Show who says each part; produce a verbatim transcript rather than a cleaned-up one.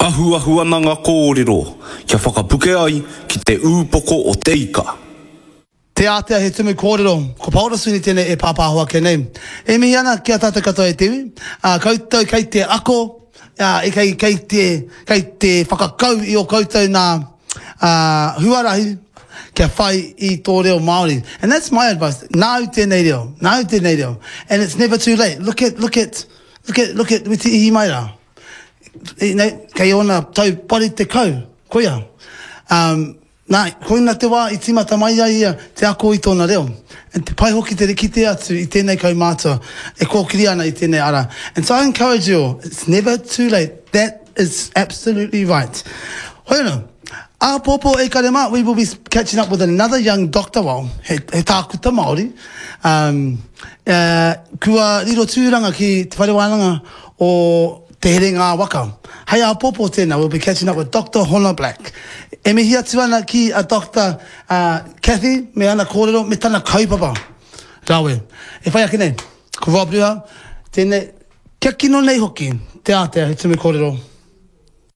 Speaker 1: Ahuahu ana ngā kōrero kia whakapuke ai ki te ūpoko o te ika.
Speaker 2: Te Ātea he tumu kōrero, ko Paora Sweeney tēnei e pāpāho ake nei. E mihi ana ki a tātou katoa e te iwi, ā, koutou kei te ako, ā, e kei, kei te, kei te whakakau i ō koutou nā, ā, huarahi kia whai i tō reo Māori. And that's my advice, nāu tēnei reo, nāu tēnei reo. And it's never too late. Look at, look at, look at, look at Witi Ihimaera. Nei, kei ōna tau waru tekau, koia. Um, nā, koina te wā i tīmata mai ai ia te ako i tōna reo. And te pai hoki te kite atu i tēnei kaumātua e kōkiri ana i tēnei ara. And so I encourage you all, it's never too late. That is absolutely right. Hoi anō, āpōpō e kare mā, we will be catching up with another young doctor, well, he, he tākuta Māori, um, uh, kua riro tūranga ki Te Whare Wānanga o Te Herenga Waka. Hei āpōpō tēnā, we'll be catching up with Doctor Hona Black. E mihi atu ana ki a Doctor uh, Cathy me ana kōrero me tana kaupapa. Rawe. E whai ake nei, ko Rob Ruha, tēnei, kia kino nei hoki, te ātea he tumu kōrero.